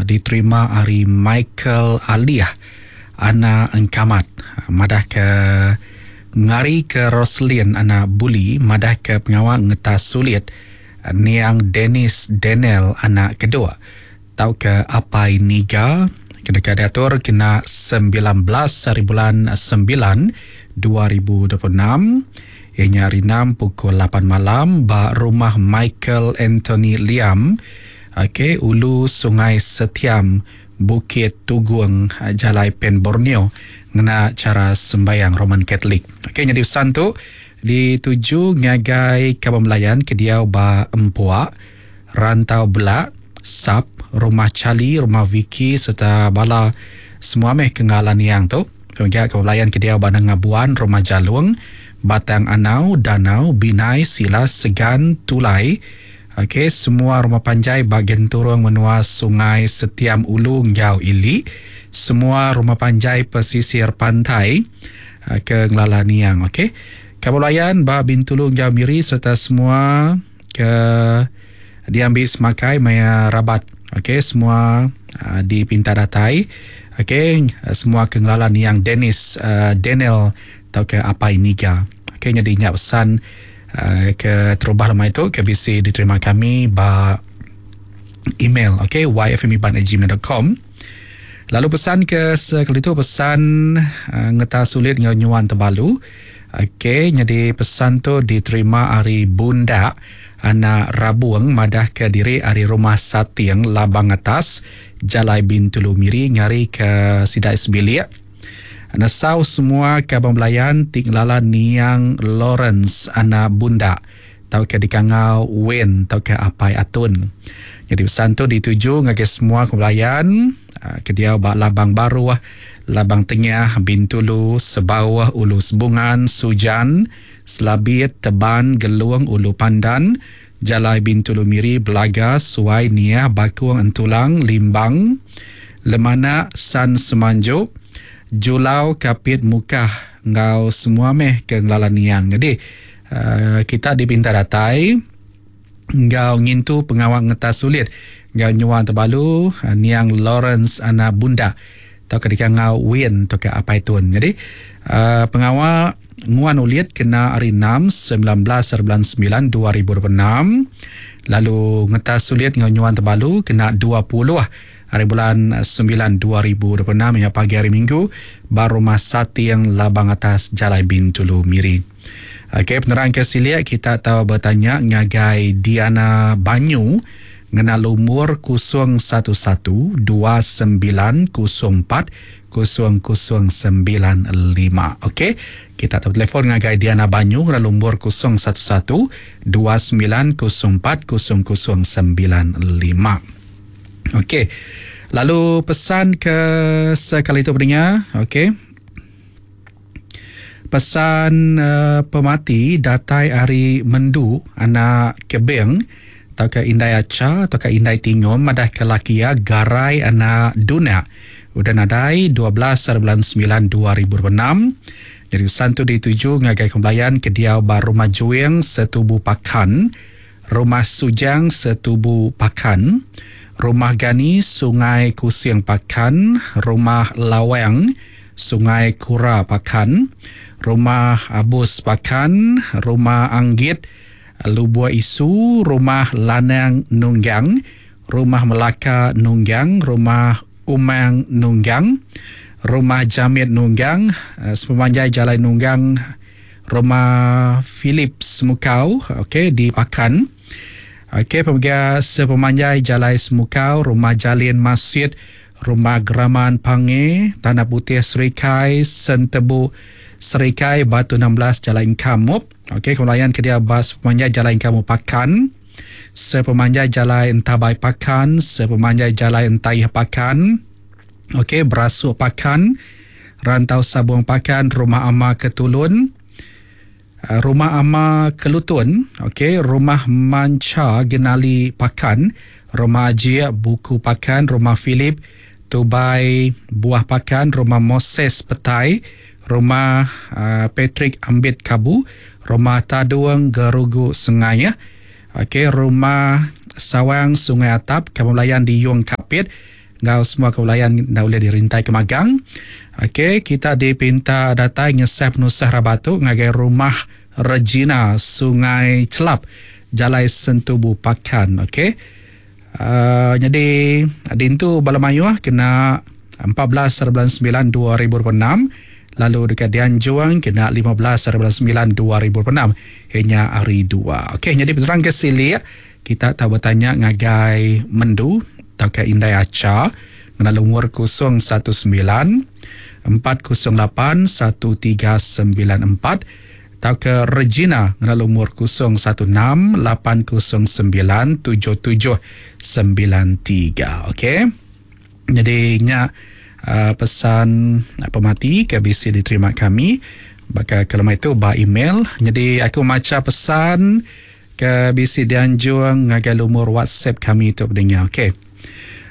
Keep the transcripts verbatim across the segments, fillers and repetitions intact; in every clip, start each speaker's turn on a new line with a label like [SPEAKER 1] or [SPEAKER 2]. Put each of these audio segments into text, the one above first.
[SPEAKER 1] diterima ari Michael Alih anak Engkamat madah ke ngari ke Roslin anak Buli madah ke pengawa ngetas sulit niang Dennis Daniel anak kedua tau ke Apai Niga kena diatur kena sembilan belas hari bulan sembilan dua ribu dua puluh enam ianya hari enam pukul lapan malam ba rumah Michael Anthony Liam, okey, Ulu Sungai Setiam, Bukit Tugung, Jalai Pen Borneo, ngena cara sembayang Roman Catholic. Okey, jadi pesan tu dituju ngagai kaban belayan ke diau ba Empuak, Rantau Belak, Sap, Rumah Charlie, Rumah Vicky serta bala semua meh kengalan yang tu. Kemudian kaban belayan ke diau ba Nengabuan, Rumah Jalung, Batang Anau, Danau, Binai, Silas, Segan, Tulai. Okey, semua rumah panjai bahagian turung menua Sungai Setiam Ulu Ngau Ili. Semua rumah panjai pesisir pantai ke Ngelala Niang. Okey. Kabulayan ba Bintulu Ngau Miri serta semua ke diambil semakai maya rabat. Okey, semua uh, di Pinta Datai. Okey, semua ke Ngelala Niang Dennis uh, Daniel atau ke Apai Niga. Okey, jadi ingat pesan uh, ke terubah lemai itu ke B C diterima kami ba email, okey, y f m iban at gmail dot com. Lalu pesan ke sekali tu pesan uh, ngeta sulit ngau nyuan tebalu. Okey, jadi pesan tu diterima ari Bundak anak Rabuang madah ke diri ari rumah Sating Labang Atas Jalai Bintulu Miri ngari ke Sidai Sebilik. Nesau semua kabang belayan tinglala Niang Lawrence anak Bundak tau ke dikangau Wen tau ke Apai Atun. Jadi pesan tu dituju ngagai semua kebelayan ke dia ba Labang Baru, Labang Tengah, Bintulu, Sebawah, Ulu Sebungan, Sujan, Selabit, Teban, Geluang, Ulu Pandan, Jalai Bintulu Miri, Belaga, Suai, Niah, Bakung, Entulang, Limbang, Lemanak, San Semanjuk, Julau, Kapit, Mukah, ngau semua meh ke Ngelala Niang. Jadi uh, kita dipinta datai ngau ngintu pengawal ngetas sulit ngau nyuan terbalu uh, Niang Lawrence anak Bunda atau ketika ngau Win atau ke Apai Tun. Jadi uh, pengawal nguan ulit kena hari enam sembilan belas bulan sembilan dua ribu dua puluh enam, lalu ngetas sulit ngau nyuan terbalu kena dua puluh hari bulan sembilan dua ribu dua puluh enam hingga pagi hari Minggu baru rumah Sating Labang Atas Jalai Bintulu Miri. Okey, penerang ke siliak kita tahu bertanya ngagai Diana Banyu ngena lumur kosong satu satu dua sembilan kosong empat kosong kosong sembilan lima. Okey, kita tahu telefon ngagai Diana Banyu ngena lumur kosong satu satu dua sembilan kosong empat kosong kosong sembilan lima. Okey. Lalu pesan ke sekali itu pendengar, okey. Pesan uh, pemati datai ari Mendu anak Kebeng atau ke Indai Aca atau ke Indai Tingom madah ke laki ya Garai anak Duna. Udah nadai dua belas bulan sembilan dua ribu dua puluh enam. Jadi pesan tu dituju ngagai kembalayan ke diau ba Rumah Juing Setubu Pakan, Rumah Sujang Setubu Pakan, Rumah Gani Sungai Kusing Pakan, Rumah Lawang Sungai Kura Pakan, Rumah Abus Pakan, Rumah Anggit Lubua Isu, Rumah Lanang Nunggang, Rumah Melaka Nunggang, Rumah Umang Nunggang, Rumah Jamit Nunggang, sepemanjai Jalan Nunggang, Rumah Philip Semukau, okey, di Pakan. Okey, pemegang sepemanjai Jalai Semukau, Rumah Jalin Masjid, Rumah Geraman Pange, Tanah Putih Serikai, Sentebu Serikai, Batu enam belas, Jalan Kamup. Okey, kemudian ke dia bas sepemanjai Jalan Kamup Pakan, sepemanjai Jalan Entabai Pakan, sepemanjai Jalan Entayah Pakan. Okey, Berasuk Pakan, Rantau Sabung Pakan, Rumah Ama Ketulun, Rumah Ama Kelutun, okey, Rumah Manca Genali Pakan, Rumah Ajik Buku Pakan, Rumah Philip Tubai Buah Pakan, Rumah Moses Petai, Rumah uh, Patrick Ambit Kabu, Rumah Taduang Gerugu Sengai, okey, Rumah Sawang Sungai Atap, Kampung Belayan di Yung Kapit, Ngau semua kebelayan dah boleh dirintai ke magang. Okey, kita dipinta datai ngesah penusah rabatu ngagai rumah Regina Sungai Celap, Jalai Sentubu Pakan. Okey. Uh, jadi dintu bala mayuh kena empat belas bulan sembilan dua ribu dua puluh enam, lalu dekat Dianjuang kena lima belas bulan sembilan dua ribu dua puluh enam hanya hari dua. Okey, jadi penerang ke silik kita tak bertanya ngagai Mendu atau ke Indai Aca ngena lumur kosong satu sembilan empat kosong lapan satu tiga sembilan empat atau ke Regina ngena lumur kosong satu enam lapan kosong sembilan tujuh tujuh sembilan tiga. Okey. Jadi nya uh, pesan pemati ke B C diterima kami. Baka kelama itu ba email. Jadi aku maca pesan ke B C dianjung ngagai lumur WhatsApp kami tu pendengar. Okey.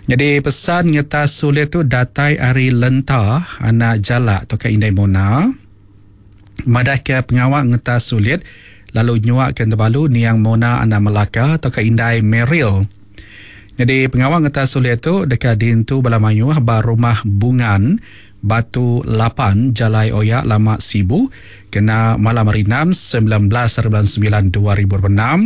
[SPEAKER 1] Jadi pesan ngetas sulit tu datai ari Lenta anak Jalak atau ke Indai Mona. Madah ke pengawak ngetas sulit lalu nyuak ke Tebalu niang Mona anak Melaka atau ke Indai Meril. Jadi pengawak ngetas sulit tu dekat dintu bala mayuh ba rumah Bungan Batu lapan Jalai Oyak Lama Sibu kena malam hari enam sembilan belas bulan sembilan dua ribu dua puluh enam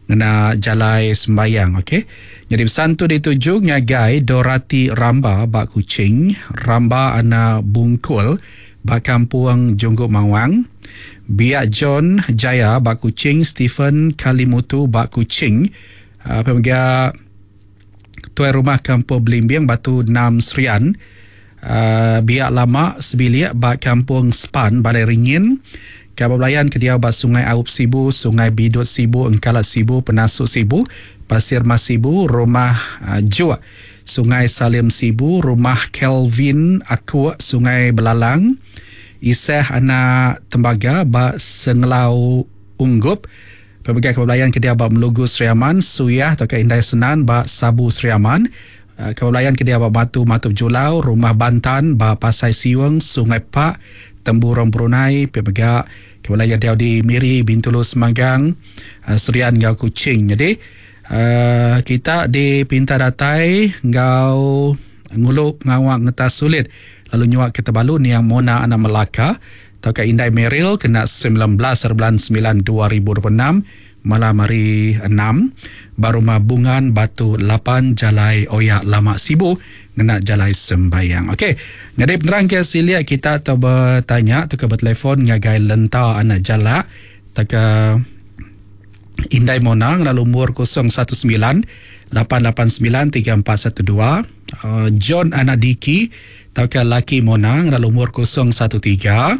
[SPEAKER 1] ngena Jalai Sembayang. Okey. Jadi pesan tu dituju ngagai Dorati Ramba bak Kuching, Ramba anak Bungkul bak Kampung Jungguk Mawang, Biak John Jaya bak Kuching, Stephen Kalimutu bak Kuching, uh, pemegang tuai rumah Kampung Belimbing Batu Enam Serian, uh, Biak Lama Sebilik bak Kampung Span Balai Ringin, Kabar Belayan ke dia bak Sungai Aup Sibu, Sungai Bidut Sibu, Engkalat Sibu, Penasuk Sibu, Pasir Mas Sibu, Rumah uh, Juak, Sungai Salim Sibu, Rumah Kelvin Aku, Sungai Belalang, Isah Anak Tembaga bak Sengelau Unggup, Pemegang Kebelayan ke dia bak Melugu Seriaman, Suyah atau ke Indai Senan bak Sabu Seriaman, Kebelayan ke dia bak Batu Matup Julau, Rumah Bantan bak Pasai Siweng, Sungai Pak, Temburong Brunei, Pemegang Kebelayan dia di Miri, Bintulu Semanggang, Serian ngau Kuching. Jadi uh, kita dipinta datai ngau ngulu pengawak ngetas sulit lalu nyuak ke Tebalu niang Mona anak Melaka atau ke Indai Meril kena sembilan belas bulan sembilan dua ribu dua puluh enam malam hari enam Barumah Bungan Batu lapan Jalai Oyak Lama Sibu ngena Jalai Sembayang. Okey, jadi penerang ke silia kita atau bertanya atau ke bertelefon ngagai Lenta anak Jalak atau ke Indai Mona ngena lumur kosong satu sembilan lapan lapan sembilan tiga empat satu dua, John anak Diki atau ke Laki Mona ngena lumur kosong satu tiga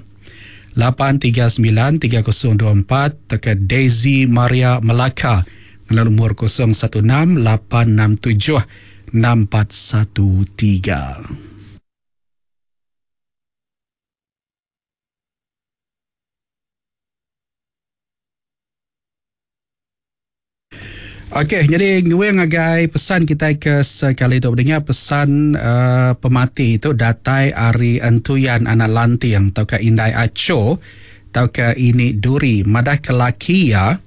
[SPEAKER 1] lapan tiga sembilan tiga kosong dua empat atau ke Daisy Maria Melaka ngena lumur kosong satu enam lapan enam tujuh enam empat satu tiga. Okey, jadi gue ngagai pesan kita ke sekali tu dengar pesan uh, pemati itu datai ari Entuyan anak Lantiang atau ke Indai Aco atau ke Ini Duri madah ke laki ya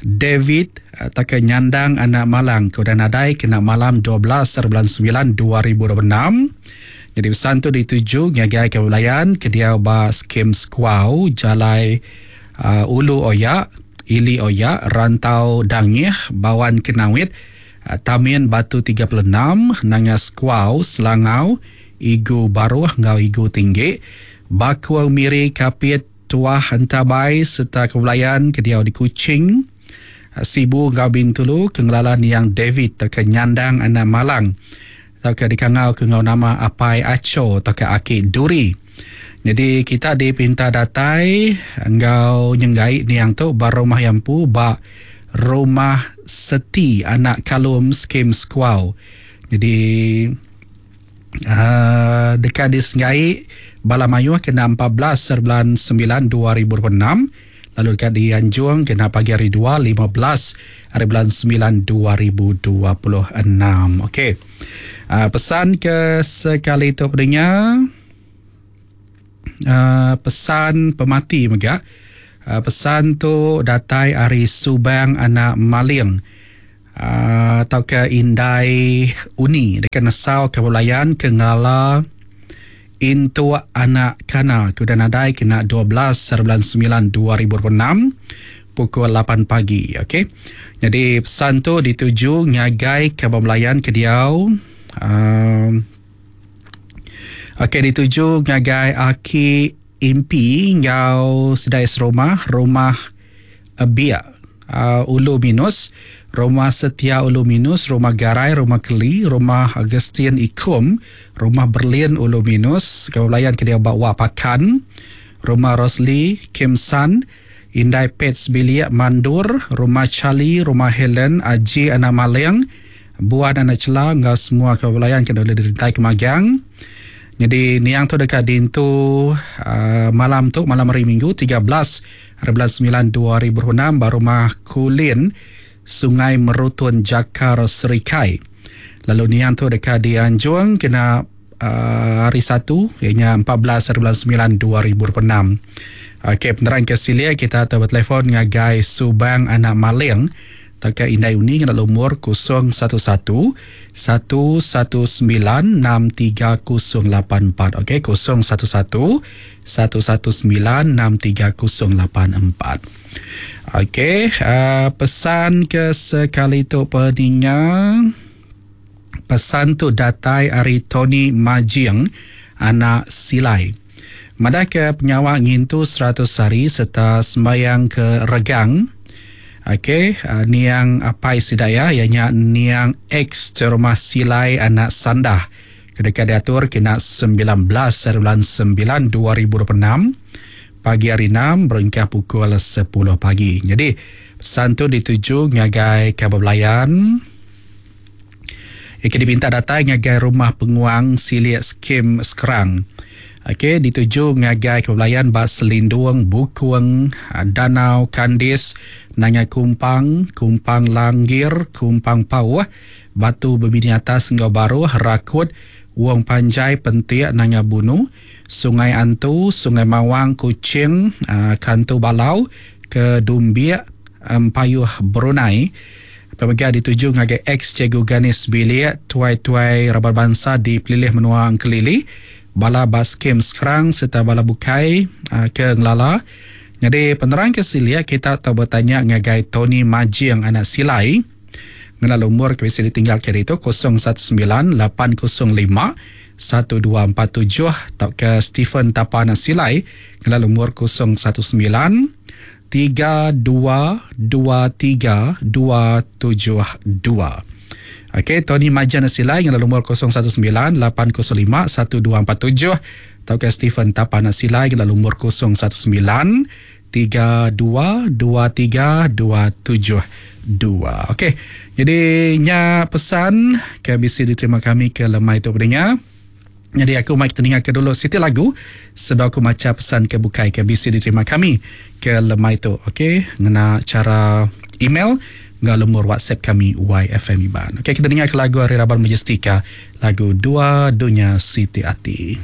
[SPEAKER 1] David atau ke Nyandang anak Malang ke udah nadai kena malam dua belas bulan sembilan dua ribu dua puluh enam. Jadi pesan tu dituju ngagai ke Belayan ke dia ba skim Squaw Jalai uh, Ulu Oyak Ili Oyak, Rantau Dangih, Bawan Kenawit, Tamin Batu tiga puluh enam, Nangas Kuau, Selangau, Igu Baruh, Ngau Igu Tinggi, Bakuang Miri, Kapit, Tuah Entabai, serta Kebelayan, Kediau di Kuching, Sibu, Ngau Bintulu, Kengelalan Yang David, atau Nyandang Anak Malang, atau ke Dikangau, ke Ngau Nama Apai Aco, atau ke Aki Duri. Jadi kita dipinta datai engau nyenggai niang tu ba rumah yampu ba rumah Seti anak Kalum Skim Squaw. Jadi uh, dekat di Senggai bala mayuh kena empat belas bulan sembilan dua ribu dua puluh enam, lalu dekat di Anjuang kena pagi hari dua lima belas hari bulan sembilan dua ribu dua puluh enam. Okey. Uh, pesan ke sekali tu pendengar. Uh, pesan pemati mega. Uh, pesan tu datai ari Subang anak Maling. uh, atau ke Indai Uni dekat nesau ke belayan ke ngala Intu anak kana ke udah nadai kena dua belas bulan sembilan dua ribu dua puluh enam pukul lapan pagi. Okey. Jadi pesan tu dituju ngagai ke belayan ke diau um, okey dituju ngagai Aki Impi ngau sedai serumah rumah Biak uh, Ulu Minus, Rumah Setia Ulu Minus, Rumah Garai, Rumah Keli, Rumah Augustine Ikum, Rumah Berlin Ulu Minus, Kebelayan ke dia bawa Pakan, Rumah Rosli, Kim San, Indai Pets Bilik Mandur, Rumah Charlie, Rumah Helen, Aji Anak Maling, Buan Anak Cela, ngau semua kebelayan ke dia dirintai kemagang. Jadi niang tu dekat dintu uh, malam tu, malam hari Minggu tiga belas bulan sembilan dua ribu dua puluh enam ba rumah Kulin, Sungai Merutun, Jakar Serikai. Lalu niang tu dekat dianjung kena uh, hari Satu, ianya empat belas bulan sembilan dua ribu dua puluh enam. Okey, penerang ke silia kita atau bertelefon ngagai Subang Anak Maling Taka Indai Uni dengan nombor kosong satu satu satu satu sembilan enam tiga kosong lapan empat. Okey, kosong satu satu satu satu sembilan enam tiga kosong lapan empat. Okey, uh, pesan ke sekali tu peninga. Pesan tu datai ari Tony Majing anak Silai. Madah ke penyawak ngintu seratus hari serta sembayang ke Regang. Okey, uh, niang apai sidaya ianya niang ex rumah Silai anak Sandah. Kedekat diatur kena sembilan belas bulan sembilan dua ribu dua puluh enam pagi hari enam berengkah pukul sepuluh pagi. Jadi pesan tu dituju ngagai kabar belayan. Ia diminta datang ngagai rumah penguang Siliak Skim Sekerang. Okey, dituju ngagai kebelayan bas Selindung, Bukuang, Danau Kandis, Nanga Kumpang, Kumpang Langgir, Kumpang Pauh, Batu Bebini Atas Ngau Baruh, Rakut, Wong Panjai, Pentiak, Nanga Bunu, Sungai Antu, Sungai Mawang, Kuching, Kantu Balau, ke Dumbiak, Empayuh Brunei. Pemegang dituju ngagai ex Cikgu Ganis Bilik, tuai-tuai raban bangsa di Pelilih Menua Engkelili, bala baskim sekarang serta bala bukai uh, ke Ngelala. Jadi penerang ke silia kita tahu bertanya ngagai Tony Majing anak Silai. Ngelala umur ke bisa ditinggal ke itu kosong satu sembilan lapan kosong lima satu dua empat tujuh atau ke Stephen Tapa anak Silai ngelala umur kosong satu sembilan tiga dua dua tiga dua tujuh dua. Okey, Tony Majan Silai dengan nombor kosong satu sembilan lapan kosong lima satu dua empat tujuh atau ke Stephen Tapana Silai dengan nombor kosong satu sembilan tiga dua dua tiga dua tujuh dua. Okey, jadi nya pesan ke B C diterima kami ke lemai tu pendengar. Jadi aku mai kita dengar ke dulu siti lagu sebab aku baca pesan ke bukai ke B C diterima kami ke lemai tu. Okey, ngena cara email ngah lemur WhatsApp kami Y F M Iban. Okey, kita dengar ke lagu Hari Raban Majestika, lagu Dua Dunia Siti Ati.